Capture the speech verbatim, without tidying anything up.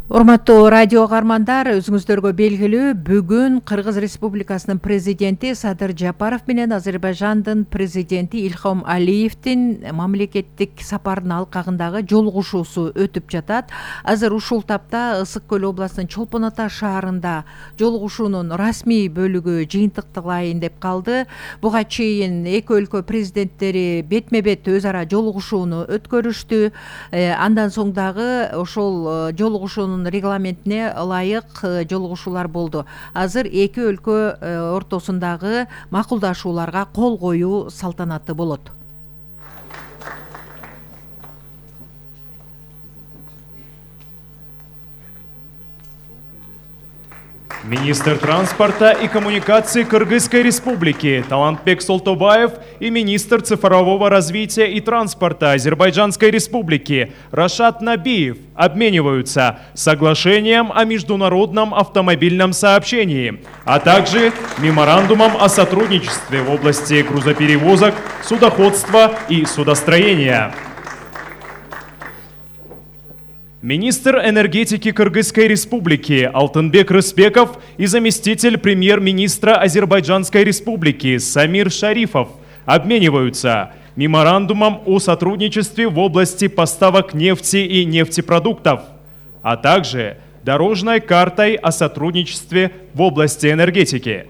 Урматтуу радио каармандар, өзүңүздөргө белгилүү, бүгүн Кыргыз Республикасынын президенти Садыр Жапаров менен Азербайжандын президенти Ильхам Алиевдин мамлекеттик сапардын алкагындагы жолугушуусу өтүп жатат. Азыр ушул тапта Ысык Көл областынын Чолпон Ата шаарында жолугушуунун расмий бөлүгү жыйынтыкталайын деп калды. Буга чейин эки өлкө президенттери бетме-бет өз ара жолугушууну өткөрүштү. Андан соң дагы ошол жолугушуунун регламентине ылайык жолугушуулар болду. Азыр эки өлкө ортосундагы макулдашууларга кол коюу салтанаты болот. Министр транспорта и коммуникаций Кыргызской Республики Талантбек Солтобаев и министр цифрового развития и транспорта Азербайджанской Республики Рашад Набиев обмениваются соглашением о международном автомобильном сообщении, а также меморандумом о сотрудничестве в области грузоперевозок, судоходства и судостроения. Министр энергетики Кыргызской Республики Алтынбек Рыспеков и заместитель премьер-министра Азербайджанской Республики Самир Шарифов обмениваются меморандумом о сотрудничестве в области поставок нефти и нефтепродуктов, а также дорожной картой о сотрудничестве в области энергетики.